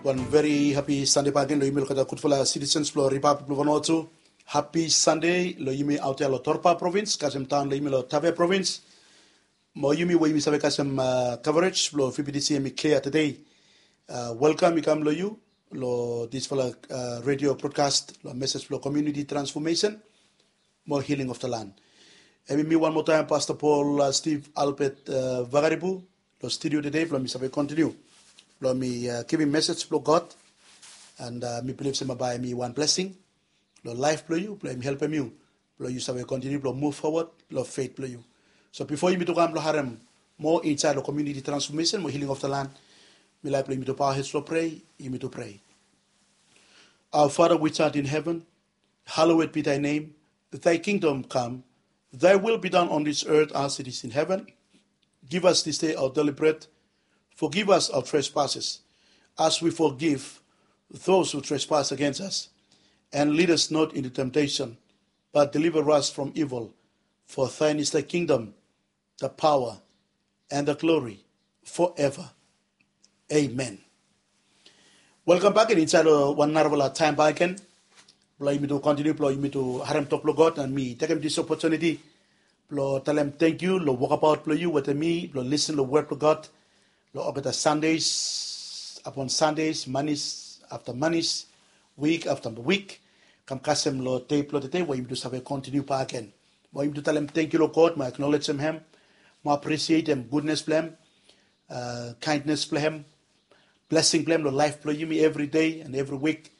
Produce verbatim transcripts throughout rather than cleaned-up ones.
Wan veri hapi Sande bakegen lo yumi olgeta gudfala citizens blo Ripablik blo Vanuatu. Hapi Sande lo yumi aot ya lo Torba provins kasem taon lo yumi lo Tave provins. Mo yumi we yumi save kasem uh, coverage blo V B T C hemi klia tede. Uh, welkam i kam lo yu lo disfala uh, radio broadcast lo message blo community transformation mo healing of the land. Hemi mi wan moa taem Pastor Paul uh, Steve Albert uh, Vakaribu lo studio tede blo mi save kontiniu blo mi uh, givim message blo God. And uh, mi bilif se bae hemi wan blessing lo laef blo yu blo hemi helpem yu blo yu save kontiniu blo move forward lo faith blo yu. So bifo yumi tu kam lo harem moa insaed lo community transformation mo healing of the land, mi laek blo yumi tu bow heads lo pray. Yumi tu pray. Our Father which art in heaven, hallowed be thy name. Thy kingdom come. Thy will be done on this earth as it is in heaven. Give us this day our daily bread. Forgive us our trespasses, as we forgive those who trespass against us. And lead us not into temptation, but deliver us from evil. For thine is the kingdom, the power, and the glory forever. Amen. Welkam bakegen insaed lo wan narafala taem bakegen blo yumi tu kontiniu blo yumi tu harem tok blo God. And mi tekem dis opotuniti blo talem tangkiu lo wokabaot blo yu wetem mi blo lisin lo wod blo God lo olgeta Sundays upon Sundays, Mondays after Mondays, week after week, kam kasem lo dei blo tede we yumi tu save kontiniu bakegen. Mo yumi tu talem tangkiu lo God mo aknolejem hem mo apresietem gudnes blo hem, uh, kindness blo hem, blessing blo hem lo laef blo yumi evri dei and evri wik.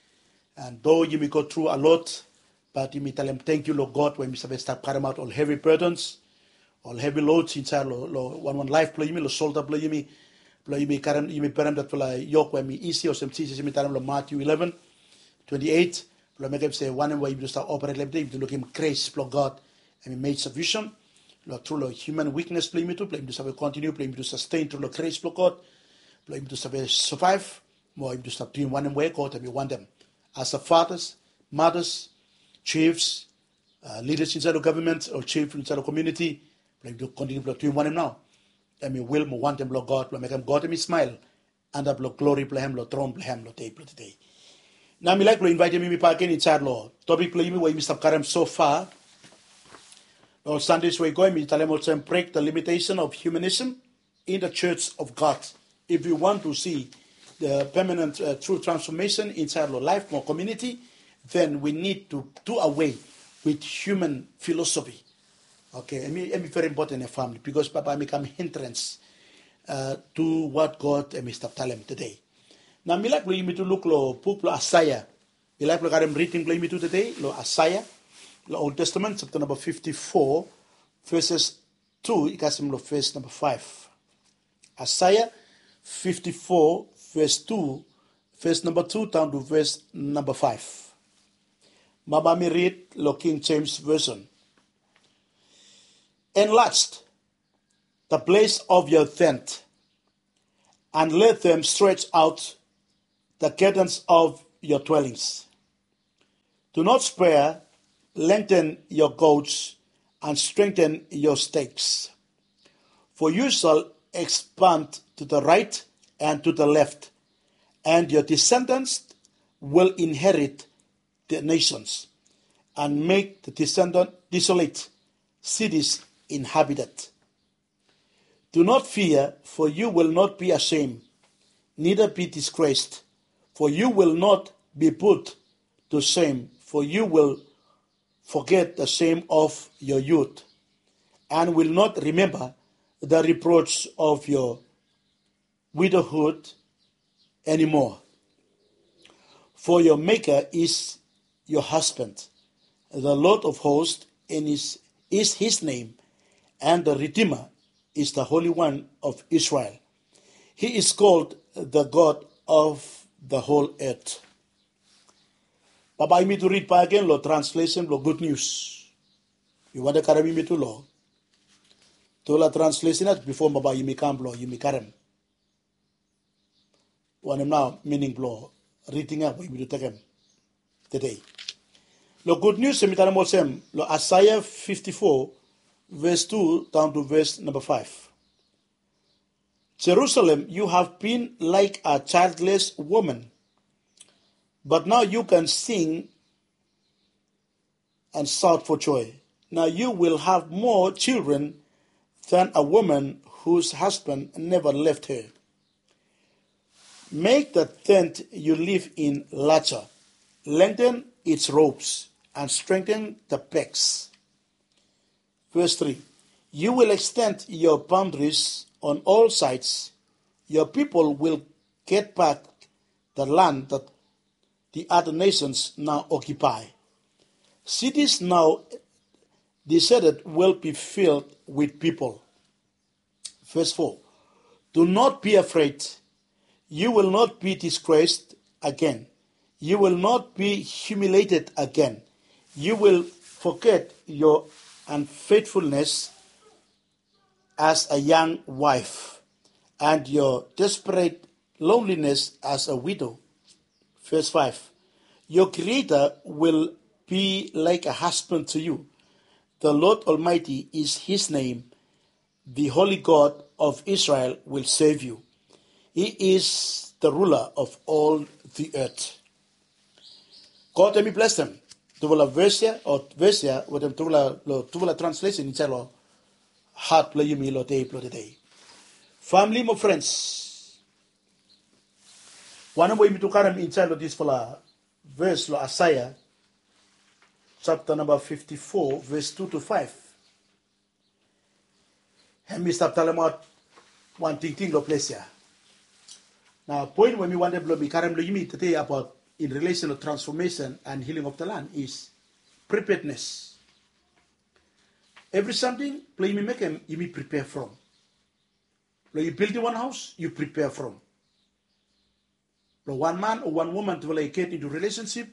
And do yumi go tru a lot, bat yumi talem tangkiu lo God we yumi save stap karemaot ol hevi burdens, ol hevi loads insaed lo, lo wanwan laef blo yumi, lo solda blo yumi, blo yumi karem, yumi berem datfala yok we hemi isi olsem Jisas hemi talem lo Matthew eleven twenty-eight, blo mekem se wanem we yumi tu stap operate lo hem tede yumi tu lukim grace blo God hemi made sufficient lo tru lo human weakness blo yumi tu blo yumi tu save kontiniu blo yumi tu sustain tru lo grace blo God blo yumi tu save survive mo yumi tu stap duim wanem we God hemi wantem. As a fathers, mothers, chiefs, uh, leaders insaed lo government o chief insaed lo community, blo yumi tu kontiniu blo duim wanem nao hemi will mo wantem blo God blo mekem God hemi smile antap lo glori blo hem lo tron blo hem lo dei blo tede. Nao mi laek blo invaetem yumi bakegen insaed lo topik blo yumi we yumi stap karem so far lo Sundays we i go, hemi talem olsem break the limitation of humanism in the church of God. If we want to see the permanent uh, true transformation insaed lo laef mo community, then we need to do away with human philosophy. Okay, hemi, hemi veri impoten ya famili bikos bae hemi kam hindrance uh, to what God hemi stap talem tede. Nao mi laek blo yumi tu luk lo buk blo Aesea. Mi laek blo karem riding blo yumi tu tede lo Aesea, lo Old Testament, chapter namba fifty-four, verses two i kasem lo ves namba five. Aesea fifty-four, ves two, ves namba two daon to ves namba five. Bae mi rid lo King James Version. Enlarge the place of your tent, and let them stretch out the curtains of your dwellings. Do not spare, lengthen your cords, and strengthen your stakes. For you shall expand to the right and to the left, and your descendants will inherit the nations and make the descendant desolate cities inhabited. Do not fear, for you will not be ashamed, neither be disgraced, for you will not be put to shame, for you will forget the shame of your youth, and will not remember the reproach of your widowhood anymore. For your Maker is your husband. The Lord of hosts and is, is his name, and the Redeemer is the Holy One of Israel. He is called the God of the whole earth. Bae yumi tu rid bakegen lo translation blo Good News. Mi wantem karem yumi tu lo tufala translation ya bifo bae yumi kam blo yumi karem wanem nao mining blo riding ya we yumi tu tekem tede. Lo Good News hemi talem olsem lo Aesea fifty-four, ves two daon to ves namba five. Jerusalem, you have been like a childless woman But now you can sing and shout for joy. Now you will have more children than a woman whose husband never left her. Make the tent you live in larger, lengthen its ropes, and strengthen the pegs. Verse three. You will extend your boundaries on all sides. Your people will get back the land that the other nations now occupy. Cities now deserted will be filled with people. Verse four. Do not be afraid. You will not be disgraced again. You will not be humiliated again. You will forget your unfaithfulness as a young wife and your desperate loneliness as a widow. Verse five. Your Creator will be like a husband to you. The Lord Almighty is his name. The Holy God of Israel will save you. He is the ruler of all the earth. God hemi blesem tufala ves ya o ves ya wetem tufala lo tufala translesen insaed lo hat blo yumi lo dei blo tede. Famili mo frens, wanem we yumi tu karem insaed lo disfala ves lo Aesea japta namba fifti fo, ves tu tu faef. Hemi stap talemaot wan tingting lo ples ya. Nao poen we mi wantem blo mi karem lo yumi tede abaot in relation to transformation and healing of the land is preparedness. Evri samting blo yumi mekem yumi prepare from. Blo yu bildim wan haos yu prepare from. Blo wan man o wan woman tufala i get into relationship,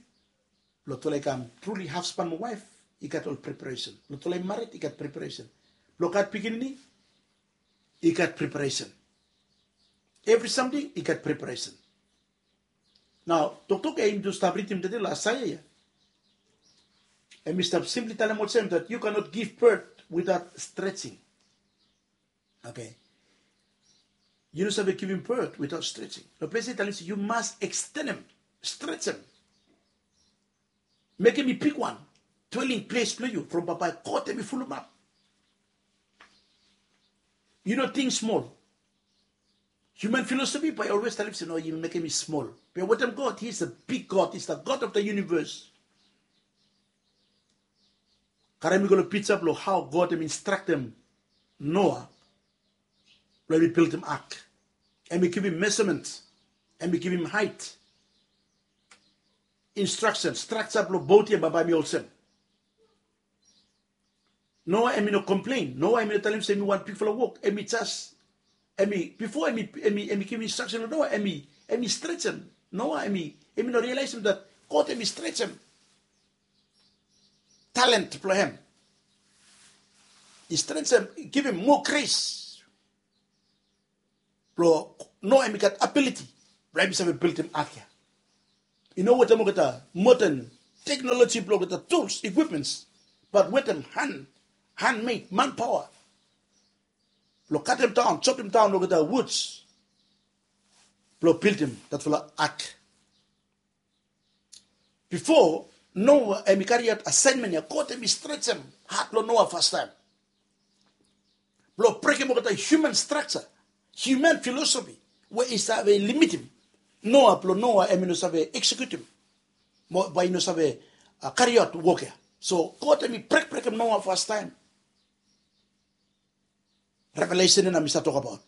blo tufala i kam truly husband mo waef, i gat ol preparation. Blo tufala i mared i gat preparation. Blo gat pikinini i gat preparation. Evri samting i gat preparation. Nao toktok ya yumi tu stap ridim tede lo Aesea ya, hemi stap simply talem olsem that you cannot give birth without stretching. Okay. Yu no save givim birth without stretching. Lo ples ya i talem se yu mas ekstenem, stretem. Mekem i bigwan dwelling ples blo yu from bambae God hemi fulumap. Yu no ting smol. Human philosophy bae i olwes talem se no, yu mekem i smol. Be wetem God, he is a big God, he is the God of the universe. Karem mi go lo pija blo hao God hemi instraktem Noa blo hemi bildim ak. Hemi givim measurement, hemi givim height, instruction, structure blo bot ya bambae hemi olsem. Noa hemi no komplen. Noa hemi no talem se hemi wan bigfala wok. Hemi jes, hemi, bifo hemi, hemi, hemi givim instruction lo Noa, hemi, hemi stretem Noa. Hemi, hemi no realisem that God hemi stretem talent blo hem. I stretem, givim moa grace blo Noa hemi gat ability blo hemi save bildim ak ya. I no wetem olgeta modern technology blo olgeta tools, equipments, but wetem hand, handmade, manpower blo katem daon, jopim daon olgeta woods blo bildim datfala ak. Bifo Noa hemi kariaot asaenmen ya, God hemi stretem hat blo Noa fastaem blo brekem olgeta human structure, human philosophy we i save limitim Noa, blo Noa hemi no save eksekutim, mo bae i no save, a, kariaot wok ya. So God hemi brekbrekem Noa fastaem. Revelation ya nao mi stap tokbaot.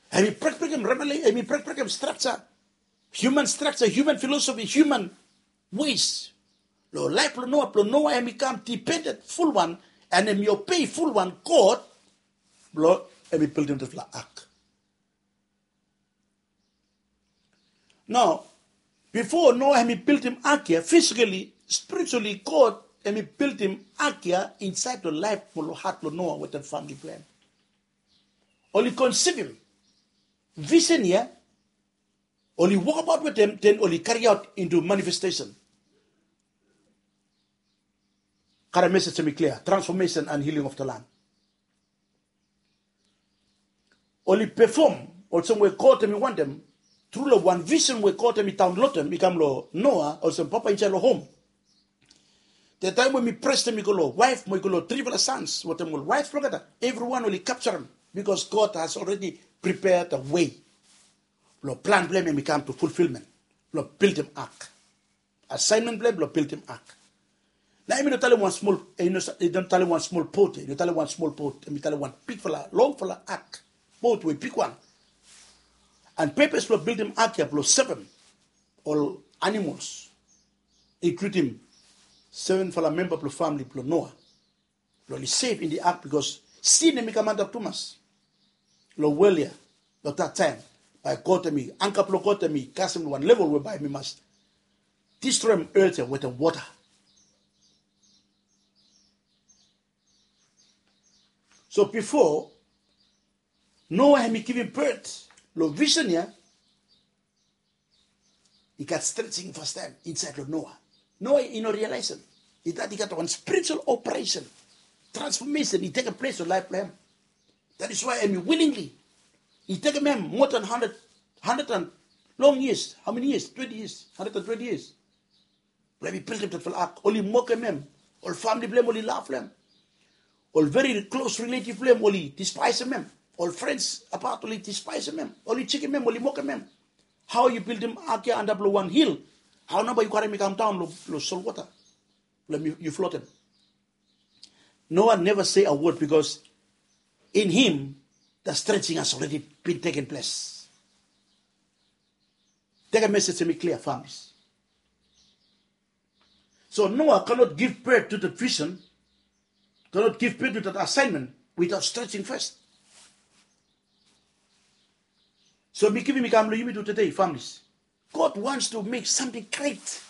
Hemi brekbrekem revela-, hemi brekbrekem structure, human structure, human philosophy, human ways. Lo laef blo Noa, blo Noa hemi kam dependent fulwan, and hemi obei fulwan God, blo hemi bildim dispela ark. Nao bifo Noa hemi bildim ark ya, physically, spiritually, God hemi bildim ark ya insaed lo laef mo lo hat blo Noa wetem famili blo hem. Oli konsivim visen ya, oli wokabaot wetem, den oli kariaot into manifestation. Karem mesej hemi klia, transformation and healing of the land. Oli pefom olsem we God hemi wantem, tru long wan visen we God hemi daonlodem i kam long Noa olsem papa insaed long hom. Taem we hemi presem i go long waef mo i go long trifala sans wetem ol waef blong olgeta, evriwan oli kapjarem, bikos God has already prepared the way blong plan blong hem hemi kam to fulfilment blong bildim ak. Asaenmen blong hem blong bildim ak. Nao hemi no talem wan smol, hemi no talem wan smol bot, hemi no talem wan smol bot, hemi talem wan bigfala, longfala ak, bot we bigwan. And purpose blong bildim ak ya blong sevem ol animols, inkludim sevenfala memba blong famili blong Noa, blong oli sef in the ark, bikos sin hemi kam antap tumas long wol ya. Long that taem, bae God hemi, anga blong God hemi kasem long wan level we bae hemi mas distroem earth ya wetem wota. So bifo Noa hemi givim birth long visen ya, i gat stretching fastaem insaed long Noa. Noa i no realaesem i gat, i gat wan spiritual operation, transformation i tekem ples long laef blong hem. That is why hemi willingly, i tekem hem moa than hundred, hundred and long years, how many years, twenty years, hundred and twenty years, blong hemi bildim detfala ak. Oli mokem hem. Ol famili blong hem oli laf long hem. Ol very close relative blong hem oli dispaesem hem. Ol friends abaot oli dispaesem hem, oli jekem hem, oli mokem hem. Hao yu bildim ak ya antap long wan hil? Hao nao bae yu karem i kamdaon long solwota blong yu flotem? Noa neva se a wod, bikos in him the stretching has already been taken place. Tekem mesej hemi klia, families. So Noah cannot give birth to that vision, cannot give birth to that assignment without stretching first. So mi givim i kam long yumi tu today, families. God wants to make something great.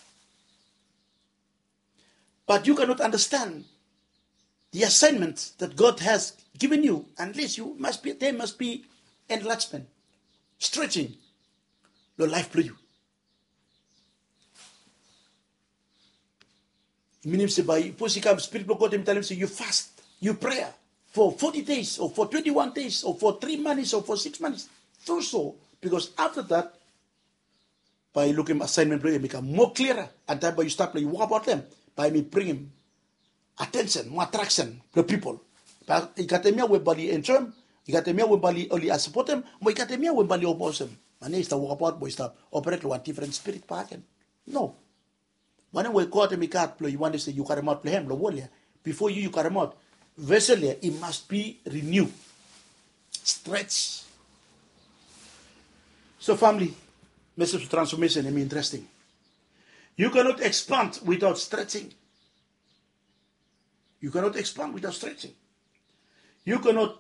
But you cannot understand the assignment that God has given you unless you must be, there must be enlargement, stretching long laef blong yu. Minim se bae sapos i kam, Spirit blong God hemi talem se yu fast, yu prea for forty days o for twenty-one days o for three months o for six months. Do so, bikos afta dat bae yu lukim assignment blong yu hemi kam moa clearer, and taem bae yu stap long yu wokabaot long hem, bae hemi bringim attention mo attraction blong pipol. Bae i gat hemia we bae oli enjoem, i gat hemia we bae oli sapotem, mo i gat hemia we bae oli oposem. Mane i stap wokabaot mo i stap operate long wan different spirit bakegen. No. Wanem we God hemi gat blong yu, wanem se yu karemaot blong hem long wol ya, bifo yu yu karemaot, vessel ya i must be renew, stretch. So family, message of transformation hemi interesting. You cannot expand without stretching. You cannot expand without stretching. You cannot,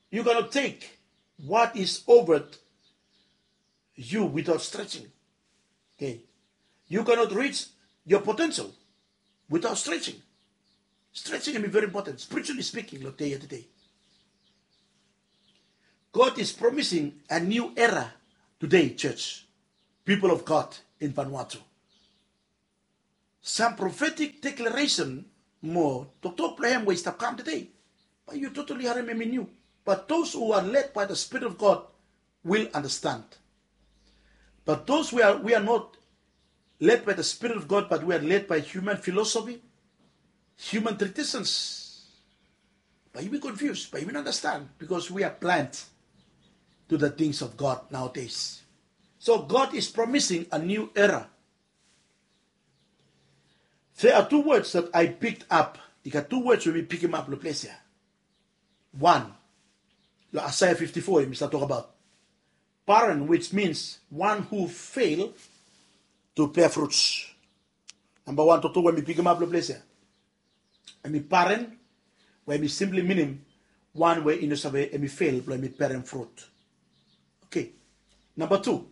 you cannot take what is over you without stretching. Okay. You cannot reach your potential without stretching. Stretching hemi very important, spiritually speaking, long dei ya today. God is promising a new era today, church, people of God in Vanuatu. Some prophetic declaration mo toktok blong hem we i stap kam today, bae yu totally harem hemi niu. But those who are led by the Spirit of God will understand. But those we are, we are not led by the Spirit of God, but we are led by human philosophy, human traditions, bae yumi confuse, bae yumi no understand, because we are blind to the things of God nowadays. So God is promising a new era. There are two words that I picked up. I gat tu words we mi pikimap long ples ya. Wan, long Isaiah fifty-four, hemi stap tokbaot barren, which means one who fail to bear fruits. Namba wan toktok we mi pikimap long ples ya, hemi barren, we hemi simply minim wan we i no save, hemi fail blong hemi berem frut. Okay. Namba tu,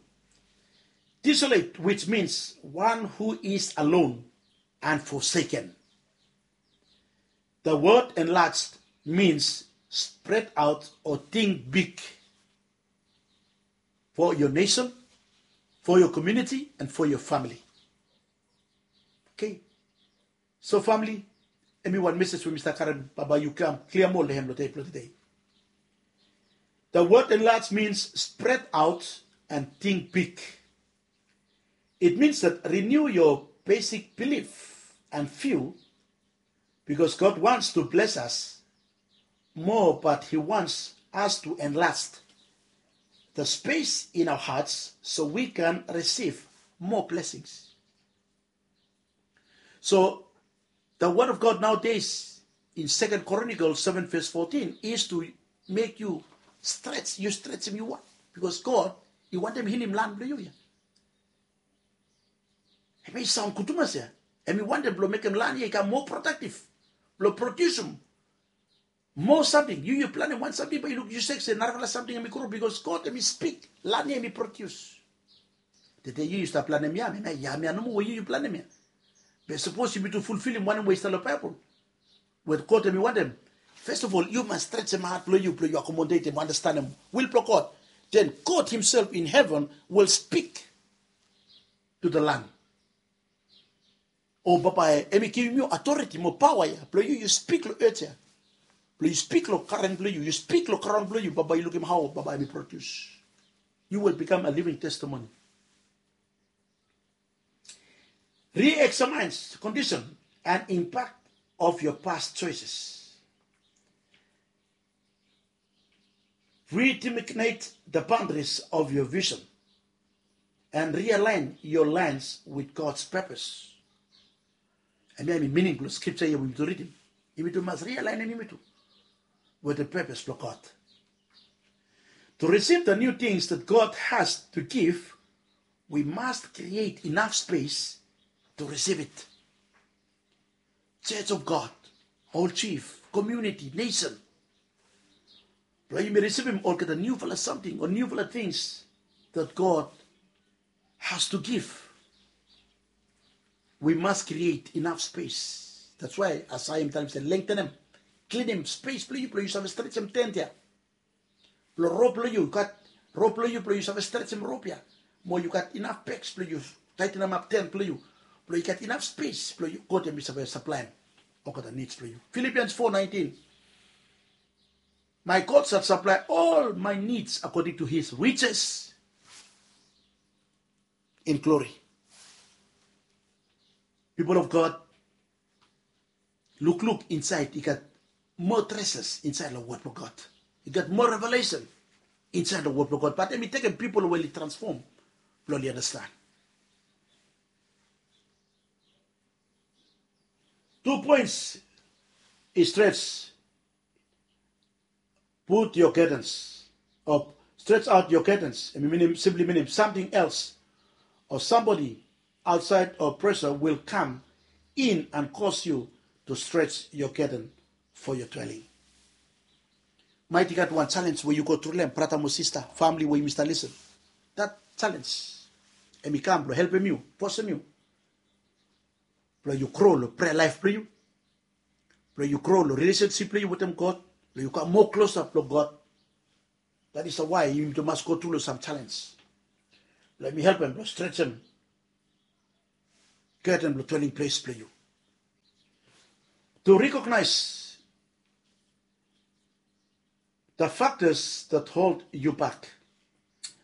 desolate, which means one who is alone and forsaken. The word enlarged means spread out or think big for your nation, for your community, and for your family. Okay. So family, hemi wan message we mi stap karem, bae yu kam klia moa long hem long dei blong today. The word enlarge means spread out and think big. It means that renew your basic belief and view, because God wants to bless us more, but He wants us to enlarge the space in our hearts so we can receive more blessings. So the word of God nowadays in Second Chronicles seven verse fourteen is to make you stretch, yu stretch hem yu wan. Because God i wantem hilim lan blong yu ya. Hem i saon gud tumas ya. Hem i wantem blong mekem lan ya i kam moa productive, blong produsim moa samting. Yu yu planem wan samting, bae yu luk yu sek se narafala samting hem i gro, because God hem i spik, lan ya hem i produce. Tede yu yu stap planem yam, hem ya yam ya nomo we yu yu planem ya. Be sapos yumitu fulfilim wanem we i stap long Baebol we God hem i wantem, first of all yu mas stretchem hat blong yu, blong yu akomodetem, andastanem wil blong God. Then God himself in heaven will speak to the land. O bambae hem i givim yu authority mo paoa ya blong yu yu spik long earth ya, blong yu spik long garen blong yu, yu spik long graon blong yu, bambae yu lukim hao bambae hem i produce. You will become a living testimony. Re-examine the condition and impact of your past choices. Redesignate the boundaries of your vision and realign your lines with God's purpose. Hemia hem i mining blong skripsa ya we yumitu ridim. Yumitu mas rialaenem yumitu wetem purpose blong God. To receive the new things that God has to give, we must create enough space to receive it. Church of God, ol chief, community, nation, blong yumi risivim olgeta niufala samting o niufala things that God has to give, we must create enough space. That's why Isaiah hem i talem se lengtenem, klinim space blong yu blong yu save stretchem tent ya. Blong rop blong yu, yu gat rop blong yu blong yu save stretchem rop ya. Mo yu gat inaf pegs blong yu taetenemap tent blong yu, blong yu gat inaf space blong yu, God hem i save saplaem olgeta needs blong yu. Philippians four nineteen. My God shall supply all my needs according to his riches in glory. People of God, lukluk insaed, i gat moa treasures insaed long wod blong God. I gat moa revelation insaed long wod blong God, bat hem i tekem pipol we oli transfom blong oli anastan. Tu poens i stret. Put your curtains, or stretch out your curtains. Hem i minim, simply minim something else or somebody outside or pressure will come in and cause you to stretch your curtain for your dwelling. Maet i gat wan challenge we yu go tru long hem, brata mo sista, famili we yumi stap lisin. That challenge hem i kam blong helpem yu, fosem yu blong yu gro long prayer life blong yu, blong yu gro long relationship blong yu wetem God, blong yu kam moa klosap long God. That is why yumitu mas go tru long sam challenge blong yumi helpem blong stretchem curtain blong dwelling place blong yu. To recognize the factors that hold you back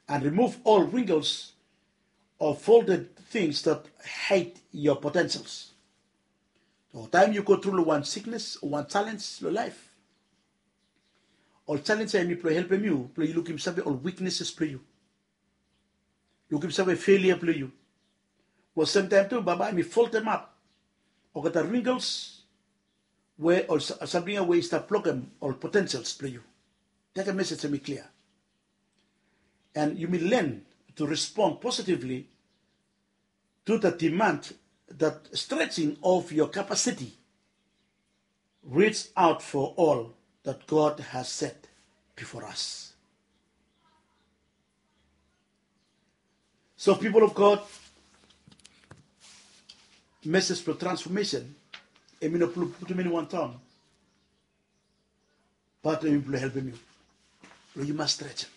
and remove all wrinkles or folded things that hide your potentials. So taem yu go tru long wan siknes o wan challenge long laef, ol challenge ya hem i blong helpem yu blong yu lukim save ol weaknesses blong yu, lukim save failure blong yu. Mo semtaem tu bambae hem i foldemap olgeta wrinkles we ol samting ya we i stap blokem ol potentials blong yu. That message hem i clear. And yumi learn to respond positively to the demand that stretching of your capacity reach out for all that God has set before us. So people of God, message blong transformation hem i no blong putum eni wan taon, bat hem i blong helpem yu blong yu mas stretchem.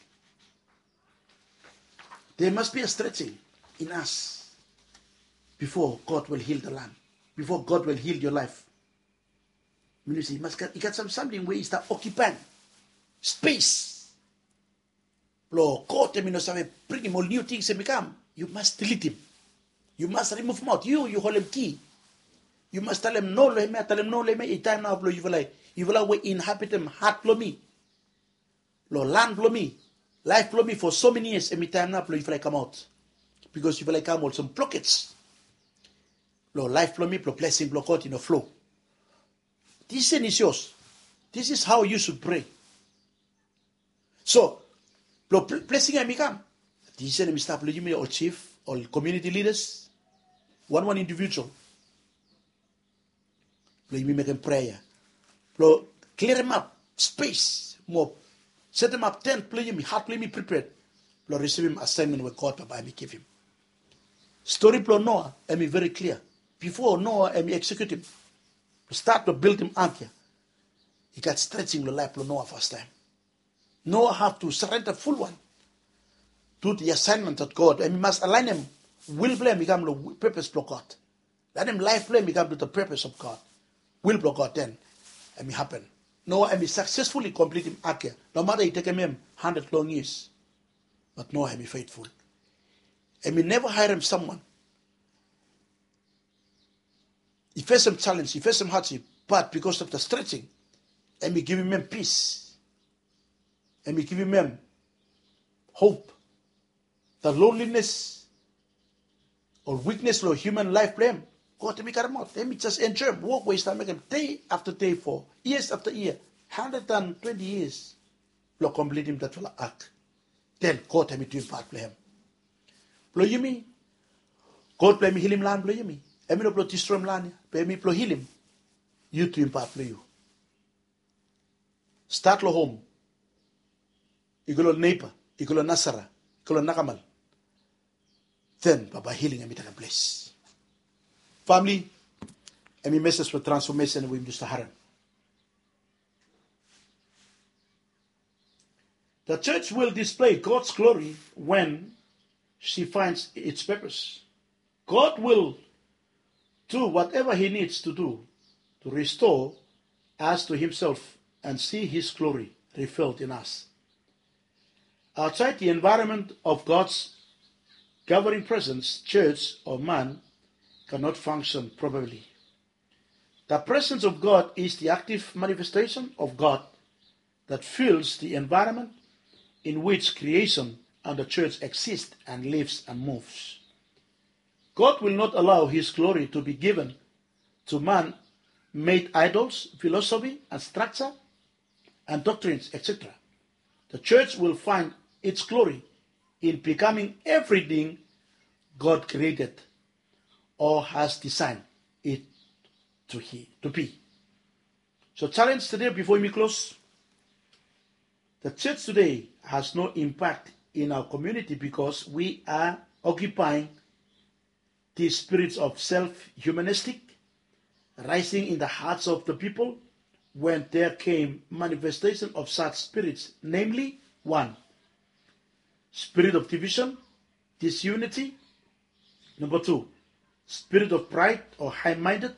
There must be a stretching in us before God will heal the land, before God will heal your life. Minim se i mas gat, i gat sam samting we i stap okipaem space Blong God em i no save bringim ol niu tings em i kam, yu mas dilitim. Yu mas rimuvum aut. Yu yu holem ki. Yu mas talem no long em ya, talem no long em ya. I taem nao blong yufala, yufala we inhabitem hat blong mi, long lan blong mi, laef blong mi fo so meni yias, em i taem nao blong yufala i kamaot. Bikos yufala i kam olsem blokej long laef blong mi, blong blesing blong God i no flo. This is yours. This is how you should pray. So blong blesing ya em i kam, this is em i stap long yumi ol chief, ol community leaders, wan wan individual, blong yumi mekem prea ya blong klirimap spes mo setemap tent blong yumi, hat blong yumi prepared blong risivim asaenmen we God papa em i givim. Stori blong Noa em i veri klia. Bifo Noa em i eksekiutim, stat blong bildim ak ya, i gat strejing long laef blong Noa fastaem. Noa have to surrender full wan to the assignment of God. Em i mas alaenem wil blong em i kam long purpose blong God. Laetem laef blong em i kam to the purpose of God, wil blong God, then em i hapen. Noa em i successfully completim ak ya. Nomata i tekem em handred long years, but Noa em i faithful. Em i neva haerem someone. I fesem challenge, i fesem hardship, but because of the stretching, em i givim em peace. Em i givim em hope. The loneliness or weakness long human life blong em, God em i karemaot. Em i just enjoem wok we i stap mekem day after day for years after year, hundred and twenty years, blong completim datfala ark. Then God em i duim pat blong em. Blong yumi, God blong em i hilim lan blong yumi. Em i no blong distroem lan ya, be em i blong hilim. Yu duim pat blong yu. Stat long hom, i go long neiba, i go long nasara, i go long nakamal. Then bambae hiling em i takem ples. Famili, em i meses blong transfomesen we yumi just harem. The church will display God's glory when she finds its purpose. God will do whatever he needs to do to restore us to himself and see his glory revealed in us. Outside the environment of God's governing presence, church or man cannot function properly. The presence of God is the active manifestation of God that fills the environment in which creation and the church exist and lives and moves. God will not allow his glory to be given to man-made idols, philosophy and structure, and doctrines, et cetera. The church will find its glory in becoming everything God created or has designed it to, he, to be. So challenge today before we close. The church today has no impact in our community because we are occupying the spirits of self-humanistic rising in the hearts of the people when there came manifestation of such spirits, namely, one, spirit of division, disunity. Number two, spirit of pride or high-minded,